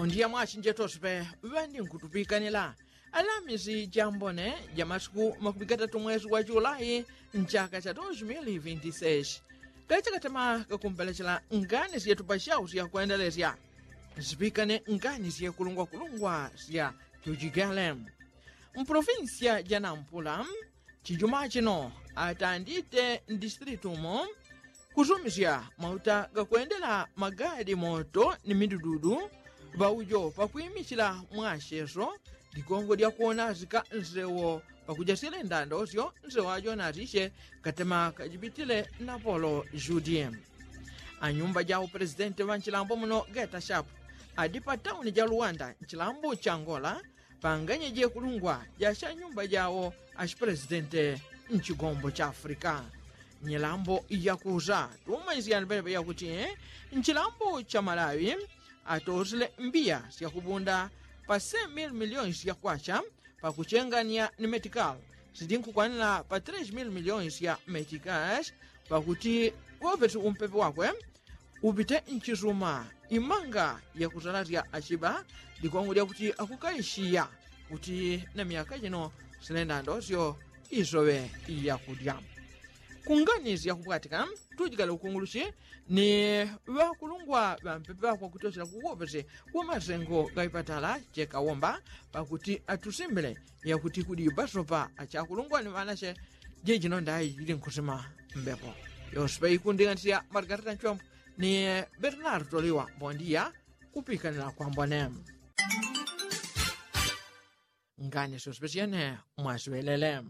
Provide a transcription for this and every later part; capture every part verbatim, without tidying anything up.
Ndiya mwachinje tospe ŵandinkutupikanyila alamisi jambone ja masiku makumi gatatu mwezi wa julai nchaka cha dos mili vinti seis. Kachakatema kakumpelechela ngani syetupa syau syakwendelesya nsipikane ngani syekulungwakulungwa sya jujigele. Mpolofinsiya ja nampula chijuma chino atandite mdistritumo kusumisya mauta gakwendela magadi moto ni midududu ŵaujo pakwimichila mwacheso ligongo lyakuona asika nsewo pakuja syele ndandosyo nsewo ajo natisye katema kajipitile napolo judi. Anyumba ja upresidenti ŵa nchilambo muno geta shapu adi pa tauni ja luwanda nchilambo cha ngola panganye jekulungwa jasya nyumba jawo ashipresidenti nchigombo cha afrika. Nyilambo yakusa tumanyisyani penepe yakuti nchilambo cha malawi atosile mbiya syakubunda pa se mil miliyoni syakwacha pakuchengania ni metikal sidinkukwanila pa tres mil miliyoni sya metikas pakuti wopeti umpepe wakwe upite nchisuma imanga yakusalasya achiba ligongo lyakuti akukaishiya kuti na myaka jino sinendandosyo isoŵe yakudya. Kungani syakupwatika tujikale ukunguluchi ni ŵakulungwa ŵampepe ŵakwakutochela kuwopeti kumasengo gaipatala chekawomba pakuti atusimbile yakuti kudi basopa achakulungwa ni ŵanache jejino ndayi jili nkusima mbepo. Yospe ikundinganisya margarita nchombo ni bernardo liwa bondiya kupikanila kwambone. Ngani syospe syene mwasiŵelele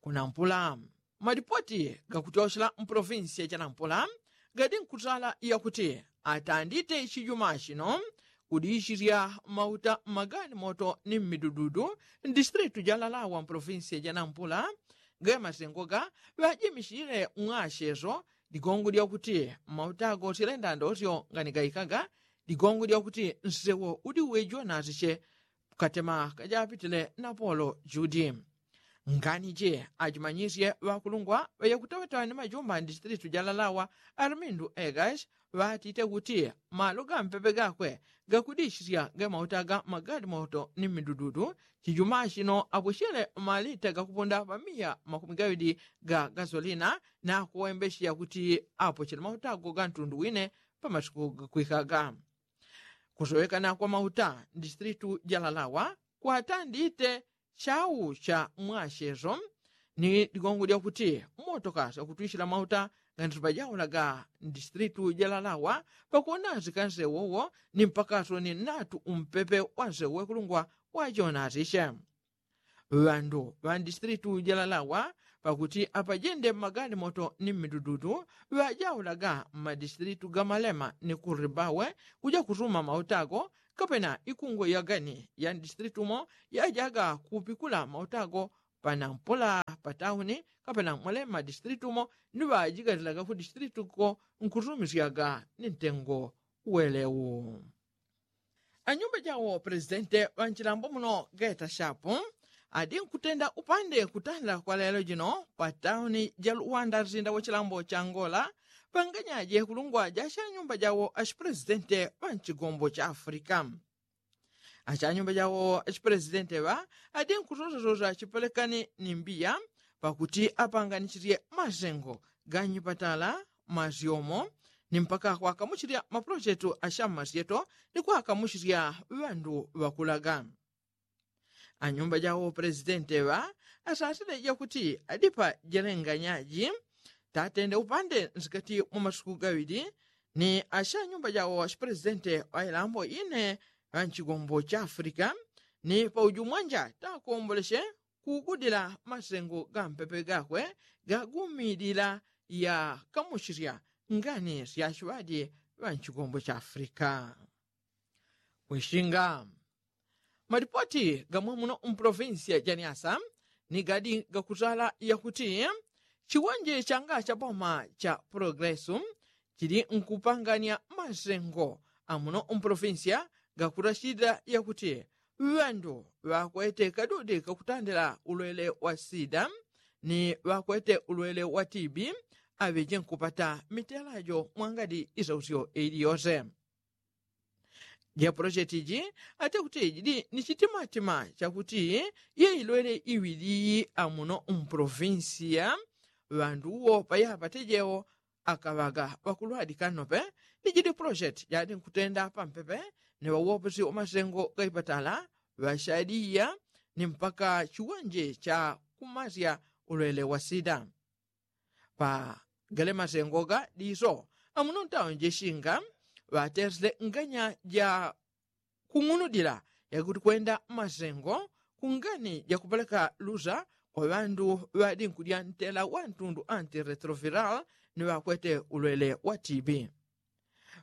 kunampula. Malipoti gakuchochela mpolofinsiya janampula gadi nkutala yakuti atandite chijuma chino kudishisya mauta mmagani moto ni mmidududu mdistritu jalalawa mpolofinsiya janampula. Gamasengoga ŵajimichile ng'acheso ligongo lyakuti mauta agosyele ndandosyo ngani gaikaga ligongo lyakuti nsewo udi wejonasiche katema kajapitile napolo judi. Ngani je ajimanyisye ŵakulungwa ŵayakuteŵeteŵa ni majumba ndistritu jalalawa armindu egas ŵatite kuti malo gampepe gakwe gakudishisya gamauta ga magalimoto ni midududu. Chijuma chino apwechele malita gakupunda pamiya makumi gaŵili ga gasolina nakuwembesheya kuti apwechele mauta go gantundu wine pamasiku gakwikaga. Kusowekana kwa mauta mdistritu jalalawa kwatandite chau cha mwacheso ni ligongo lyakuti motoka syakutwichila mauta ganditu pajaulaga mdistritu jalalawa pakuonazika nsewowo ni mpakaso ni natu umpepe wa nsewo wekulungwa wajonazishe. Ŵandu ŵa mdistritu jalalawa pakuti apajende mmagalimoto ni mmidududu ŵajaulaga mmadistritu ga malema ni kuribawe kuja kusuma mauta ago kapena ikungo yagani ya mdistritu mo yajaga kupikula mauta ago panampula patauni kapena mwalema madistritu mo ni ŵajigalilaga ku distritu ko nkusumisyaga ni ntengo welewu. Anyumba jawo presidente ŵa nchilambo muno geta shapu adi nkutenda upande kutanda kwa lelo jino pa tauni ja luwanda nsinda wa chilambo cha ngola panganyaje kulungwa jasha nyumba jawo ashipresidente ŵa nchigombo cha afrika. Asha nyumba jawo ashipresidente ŵa adi nkusosasosa chipelekani ni mbiya pakuti apanganisisye masengo ga nyipatala masyomo ni mpaka kwakamuchilya mapulochetu asha mmasyeto ni kwakamuchilya ŵandu ŵakulaga. Anyumba jawo presidente ŵa asasile jakuti adipa jalenganyaji tatende upande nsikati mwa masuku gaŵili ni asha nyumba jawo ashipresidente ŵa ilambo ine ŵa nchigombo cha afrika ni paujumwanja takomboleshe kugudila masengo ga mpepe gakwe gagumilila ya kamuchilya ngani sya chiŵadi ŵa nchigombo cha afrika. Kwishinga malipoti gamwe muno mpolofinsiya ja nyasa ni gadi gakutala yakuti chiwonje changa cha boma cha progresu chili nkupangania masengo amuno mpolofinsiya gakutachilila yakuti ŵandu ŵakwete kadudi kakutandila ulwele wa sida ni ŵakwete ulwele wa tibi aŵeje nkupata mitela jo mwangadi isausyo ili yose. Jepolosheti ji ate kuti jidi ni chitimatima chakuti yeilwele iwili amuno mpolovinsiya ŵandu uwo payapatejewo akaŵaga ŵakulwadika nope. Ni jidi polosheti jadi nkutenda pampepe ni ŵauwoposi wa masengo gaipatala ŵashadiya ni mpaka chiwanje cha kumasya ulwele wa sida. Pa gale masengo ga diso amuno ntawo njeshinga ŵatesile nganya ja kung'unudila yakuti kwenda masengo kungani jakupeleka lusa kwa ŵandu ŵadinkudya ntela wa ntundu anti retroviral ni ŵakwete ulwele wa tibi.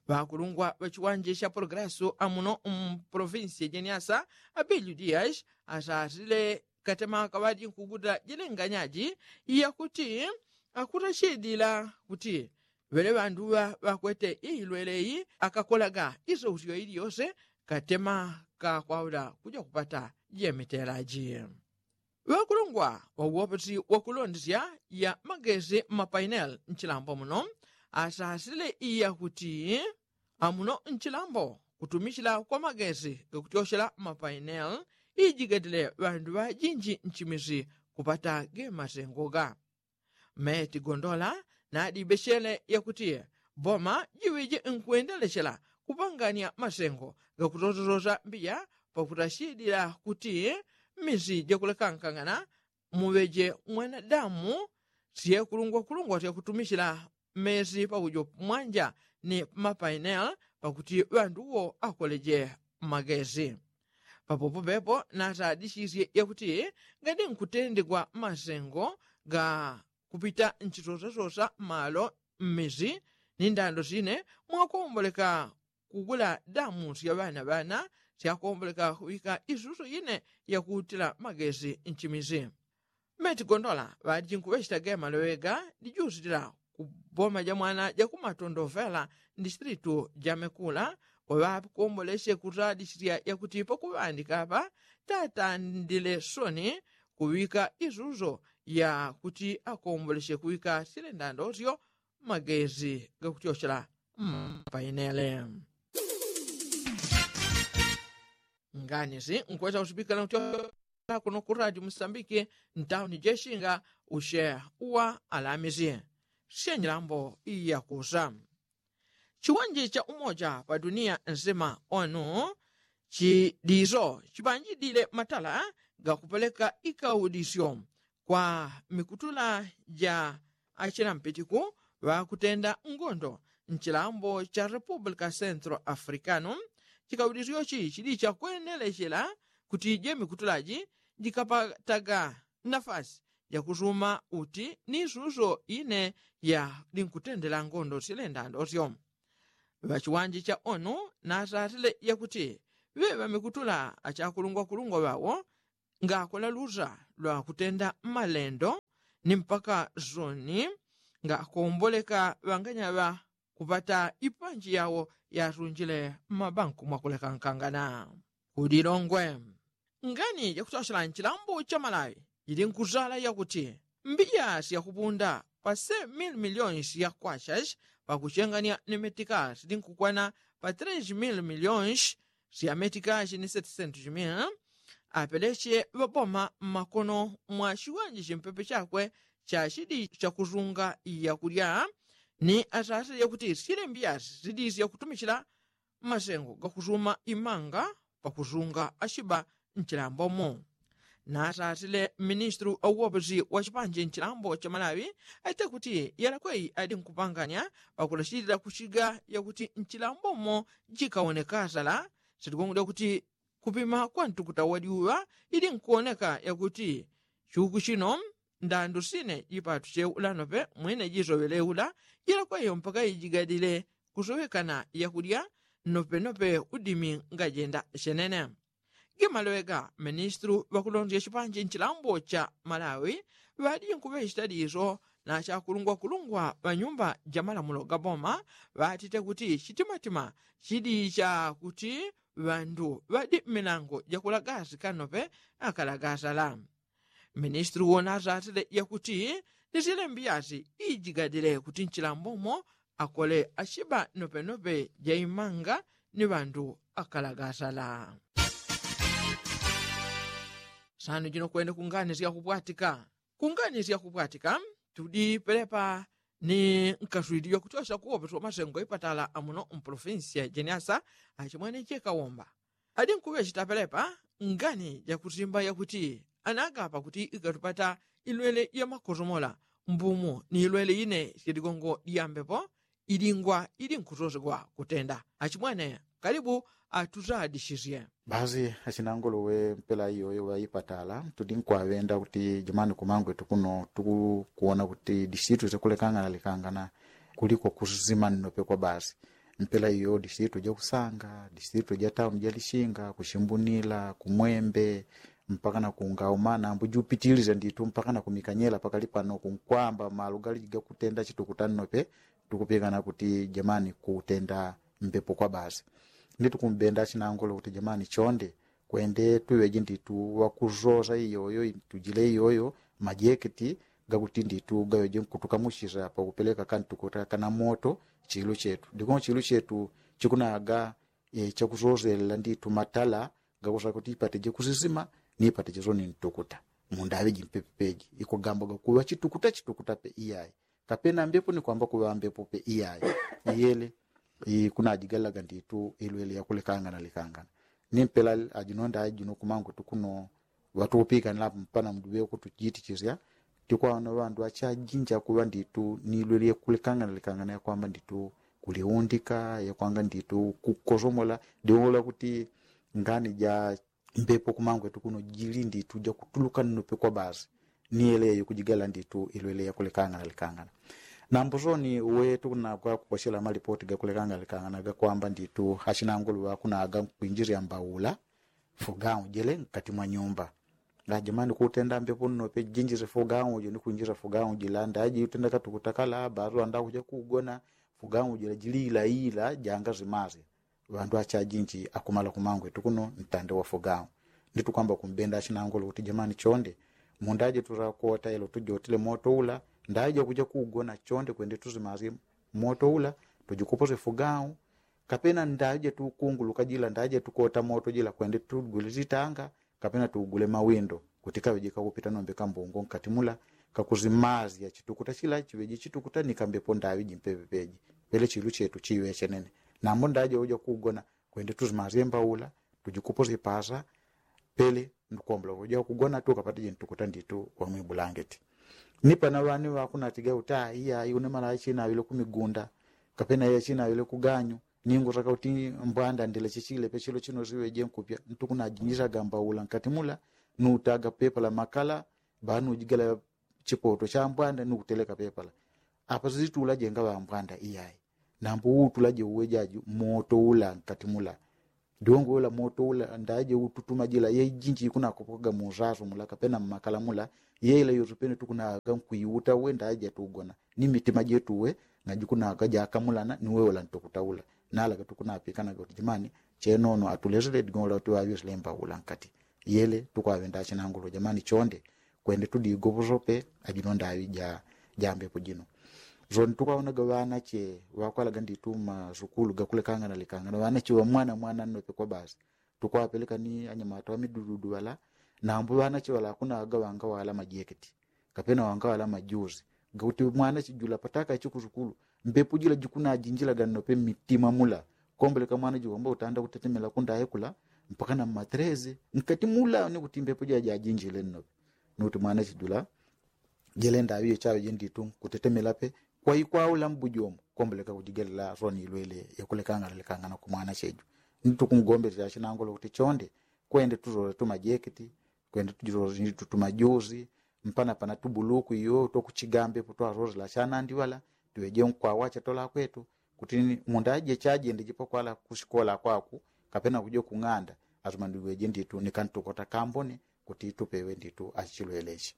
Ŵakulungwa ŵa chiwanje cha polograsu amuno mpolovinsi ya jeniasa abiliu dias asasile katema kaŵadinkuguta jilenganyaji yakuti akutachidila kuti ŵele ŵanduŵa ŵakwete iilweleyi akakolaga isousyo iliyose katema kakwaula kuja kupata jemitelaji. Ŵakulungwa ŵauwoposi wakulondesya ya magesi mapainel nchilambo muno asasile iyakuti amuno nchilambo kutumichila kwa magesi gakutyochela mapainel ijigatile ŵandu ŵajinji nchimisi kupata gemasengoga. Meti gondola nadibechele yakuti boma jiŵeje nkwendelechela kupangania masengo gakutototosa mbiya pakutachidila kuti misi jakulekankangana muŵeje mwanadamu syekulungwakulungwa syakutumichila mesi paujo mwanja ni mapainel pakuti ŵandu uwo akoleje magesi. Papopo pepo nasadisisye yakuti ngadi nkutendegwa masengo ga kupita nchisosasosa malo mmisi ni ndando sine mwakomboleka kugula damu sya ŵanaŵana syakomboleka kuŵika isuso ine yakutila magesi nchimisi. Meti gondola ŵadiji nkuŵechita gema lowega dijusitila ku boma ja mwana ja kumatondovela ndisitilitu ja mekula kwaŵakombolesye kusadisisya yakuti pakuŵandika apa tatandile soni kuŵika isuso yakuti akombolesye kuŵika sile ndandosyo magesi gakutyochela mpainele. Nganisi nkwesa kusipikila kutyochela kuno ku radio musambiki ntauni jeshinga ushe uwa alamisi syenyilambo iyakusa. Chiwanje cha umoja pa dunia nsima onu chidiso chipanjidile matala gakupeleka ikaudisyo kwa mikutula ja achinampitiku ŵakutenda ngondo nchilambo cha repupulika central africano. Chikaudisyochi chidi chakwenelechela kuti jemikutulaji jikapataga nafasi jakusuma uti ni suso ine yadinkutendela ngondo silenda ndosyo. Ŵachiwanje cha onu nasasile yakuti ŵeŵa mikutula achakulungwakulungwa ŵawo ngakola lusa lwakutenda malendo ni mpaka soni ngakomboleka ŵanganyaŵa kupata ipanji yawo yasunjile mmabanku mwakulekankangana. Kudilongwe ngani jakusosola nchilambo cha malawi jili nkuzala yakuti mbiya syakupunda pa se mil milionsi ya kwachas pakuchengania ni metikasi dinkukwana pa tres mil milionsi sya metikasi ni setisentu jimil apeleche ŵaboma mmakono mwa chiwanje chimpepe chakwe chachidi chakusunga yakulya ni asasile yakuti syile mbiyasi sidisya kutumichila masengo gakusuma imanga pakusunga achiba nchilambomo. Nasasile ministri wa uwoposi wa chipanje nchilambo cha malawi aite kuti yalakweyi adi nkupanganya pakulachilila kuchiga yakuti nchilambomo jikawoneka asala sitikongolya kuti kupima kwa ntukuta wa dyuŵa ili nkuwoneka yakuti chuku chino ndandu sine jipatuche ulanope mwine jisoŵele ula jilakweyo mpaka ijigadile kusowekana yakulya nopenope udimi ngajenda chenene. Gimaloweka ministru ŵakulondya chipanje nchilambo cha malawi ŵadinkuŵechita diso na chakulungwakulungwa ŵanyumba jamalamulo gaboma ŵatite kuti chitimatima chidi chakuti ŵandu ŵadi mmilango jakulagasi kanope akalagasala. Ministri wona asasile yakuti ni silembi yasi ijigadile kuti nchilambomo akole achiba nopenope jaimanga ni ŵandu akalagasala. Sanu jino kwene kungani syakupwatika. Kungani syakupwatika tudi pelepa ni nkaswili jwakutyosya kuwopeswa masengo ipatala amuno mpolofinsi ya jeniasa. Achimwene chekawomba adi nkuŵechita pelepa ngani jakusimba yakuti anagapa kuti ikatupata ilwele yamakosomola mbumu ni ilwele ine syadigongo dyambepo ilingwa ili nkusosegwa kutenda. Achimwene kalibu atusadisisye. Basi achinangolo we mpela iyoyo waipatala tudi nkwaŵenda kuti jamani kumangwetu kuno tukuona kuti disitu syakulekangana lekangana kuliko kusisima nnope kwa basi. Mpela iyo disitu jakusanga disitu jatauni jalishinga kushimbunila kumwembe mpaka na kungaumana ambu jupitilizya nditu mpaka na kumikanyela pakali pano kunkwamba malugali gakutenda chitukuta nnope. Tukupikana kuti jamani kutenda mbepo kwa basi. Nditukumbenda achinangolo kuti jamani chonde kwende tuŵeje nditu wakusosa iyoyo tujile iyoyo majeketi gakuti nditu gaŵeje nkutukamuchisya pakupeleka kantukuta kana moto. Chilu chetu ndiko chilu chetu chikunaga chakusoselela nditu matala gakusa kuti ipateje kusisima ni ipateje soni ntukuta. Mundaŵeji mpepepeji ikugamba gakuŵa chitukuta chitukuta pe iyayi. Kapena mbepo ni kwamba kuŵa mbepo pe iyayi. Iyele ikunajigalaga nditu ilwele yakulekangana lekangana. Ni mpela ajino ndaji jino kumangwetu kuno ŵatukupikanila mpana mduŵe kutujitichisya. Tikwaona ŵandu achajinja kuŵa nditu ni ilwele yakulekangana lekangana yakwamba nditu kuliundika yakwanga nditu kukosomola. Diwola kuti ngani ja mbepo kumangwetu kuno jili nditu jakutuluka nnope kwa basi. Ni yele yayikujigala nditu ilwele yakulekangana lekangana. Nambo soni uwe tukunakwa kukosyela malipoti gakulekangana lekangana gakwamba nditu achinangulu ŵakunaga nkwinjisya mbaula fugaujile nkati mwa nyumba. Ajamani kutenda mbepo nnope jinjisye fugaujile ni kwinjisya fugaujile ndaji utenda katukutakala basu andakuja kugona. Fugaujile jili ilaila janga zimasya. Ŵandu achajinji akumala kumangwetu kuno ntande wa fugaujile. Nditukwamba kumbenda achinangulu kuti jamani chonde mundaje turakota ilo tujotile moto ula ndaje kuja kugona chonde kwende tuzimasye moto ula tujikuposye fugaujile. Kapena ndaje tukunguluka jila ndaje tukota moto jila kwende tugule zitanga kapena tugule mawindo kuti kaŵeje kakupita nombe kambungo nkati mula kakuzimazya chitukuta chila chiŵeje chitukuta ni kambepo ndaŵeji mpepepeji. Pele chilu chetu chiŵe chenene. Nambo ndaje uja kugona kwende tuzimazye mbaula tujikuposye pasa. Pele ndukwambula uja kugona tukapatije ntukuta nditu wamwibulangeti. Ni pana ŵani ŵakunatiga uta iyayi une mala achinaŵile kumigunda kapena iye achinaŵile kuganyu. Ningu saka kuti mbwanda ndila chichile pechilo chino siŵeje nkupya ntukunajinjisaga mbaula nkati mula nutaga pepala makala. Banujigala chipoto cha mbwanda nukuteleka pepala. Apa sizitula jenga ŵambwanda iyayi. Nambo utula jeuwe jaju moto ula nkati mula. Diwongo ula moto ula ndaje ututuma jila yejinji ikunakopokaga musasu mula kapena mmakala mula. Yeila yosupene tukunaga nkwiuta uwe ndaje tugona ni mitima jetu uwe. Ngajikunaga jakamulana ni weula ntukuta ula. Nalaga tukunapikanaga kuti jimani chenono atulesele digongo la kuti ŵaŵesele mbaula nkati. Yele tukwaŵenda achinangulu jamani chonde kwende tudigoposope. Ajino ndaŵi ja jambepo jino. Soni tukwaonaga ŵanache ŵakwalaga nditu masukulu gakulekangana lekangana ŵanache ŵamwana mwana nnope kwa basi. Tukwapeleka ni anyamata ŵamidududu ŵala. Nambo ŵanache ŵala akunaga ŵangawala majeketi kapena ŵangawala majuzi gakuti mwanache jula pataka ichikusukulu mbepo jila jikunajinjilaga nnope mmitima mula. Komboleka mwanache wamba utanda kutetemela kundaye kula mpaka na mmatreze nkati mula ni kuti mbepo jila jajinjile nnope. Ni kuti mwanache jula jele ndaŵi iyo chaŵeje nditu kutetemela pe. Kwaikwaula mbujomo komboleka kujigalela soni ilwele yakulekangana lekangana kumwanache ju. Ni tukungombesya achinangulu kuti chonde kwende tuzole tumajeketi kwende tuzole nditu tumajuzi mpana pana tubuluku iyo twakuchiga mbepo twazozela chanandi ŵala. Tuŵeje nkwawacha twalakwetu kuti mundaje chajende jipakwala kusikola kwaku kapena kuja kung'anda. Asuma ndiŵeje nditu ni kantukota kambone kuti tupewe nditu achilweleche.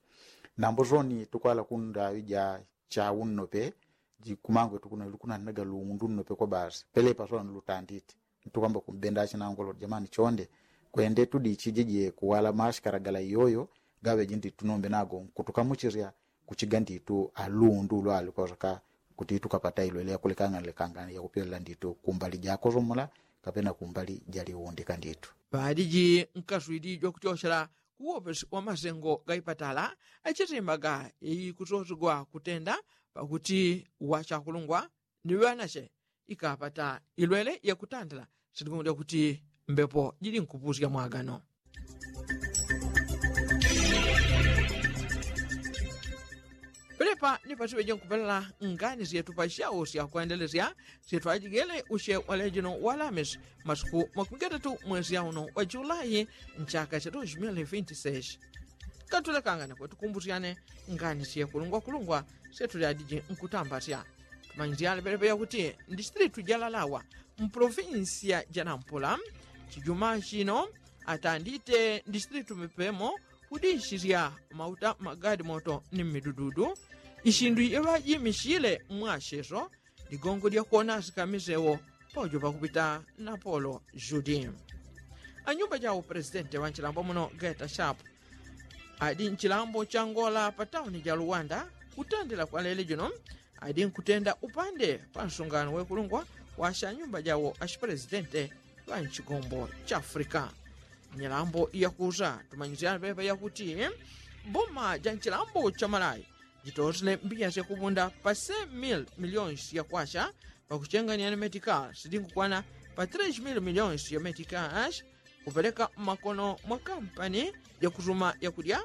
Nambo soni tukwala kundaŵi ja chaunnope jikumangwetu kuno lukunaninaga luundu nnope kwa basi pelepa soni lutanditi. Ntukwamba kumbenda achinangulu jamani chonde kwende tudichije je kuwala mashikala gala iyoyo gaŵeje nditu nombe nago nkutukamuchisya. Kuchiga nditu alundu ulwali kwasaka kuti tukapata ilwele yakulekangana lekangana yakupyelela nditu kumbali jakosomola kapena kumbali jaliundika ndithu. Ŵadiji nkaswili jwakuchochela kuwopesi wa masengo gaipatala achitimbaga ikusosegwa kutenda pakuti wachakulungwa ni ŵanache ikapata ilwele yakutandila sindikungudya kuti mbepo jili nkupusya mwagano. Pelepa ni pasiŵeje nkupelela ngani syetu pasyawo syakwendelesya syetwajigele usye walejino walamisi masuku makumigatatu mwesi yauno wa julayi nchaka cha dos mil vinti seis. Katulekangane kwetukumbusyane ngani syekulungwakulungwa syetulyadiji nkutambasya. Tumanyisyane pelepa yakuti ndisitilitu jalalawa mpolofinsiya janampula chijuma chino atandite ndisitilitu mipemo kudishisya mauta magadi moto ni mmidududu. Isindu yeŵajimisyile mwasyeso ligongo lyakuona asikamisewo paujo pakupita napolo judi anyumba jawo presidenti wa nchilambo muno geta shapu adi nchilambo changola pa tauni ja luwanda kutandila kwa lele jino adi nkutenda upande pa nsungano wekulungwa wasya nyumba jawo ashipresidente ŵa nchigombo cha afrika. Nyilambo yakusa tumanyisyana pepa yakuti boma ja nchilambo cha malayi jitosile mbiya syakupunda pa se mil miliyoni syakwasya pakuchengania ni metika sidingukwana pa tres mil miliyoni sya metika kupeleka mmakono mwa kampani jakusuma yakudya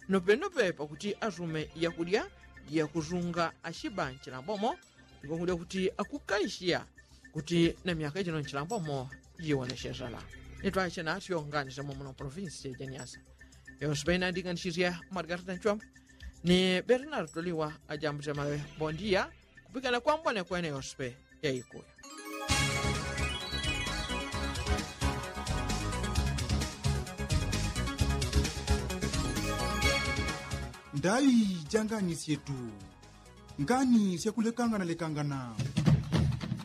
nopenope pakuti asume yakudya yakusunga ashiba nchilambomo. Ndikungudya kuti akukaishiya kuti na myaka jino nchilambomo jiwonesesala. Nitwache nasyo nganisemo muno provinsi jeniasa yospe inandinganisisya margarita nchwamba ni bernardo liwa ajambusya mawe bondiya kupikana kwambone kwene yospe yaikuya. Ndaŵi ja ngani syetu ngani syakulekangana lekangana.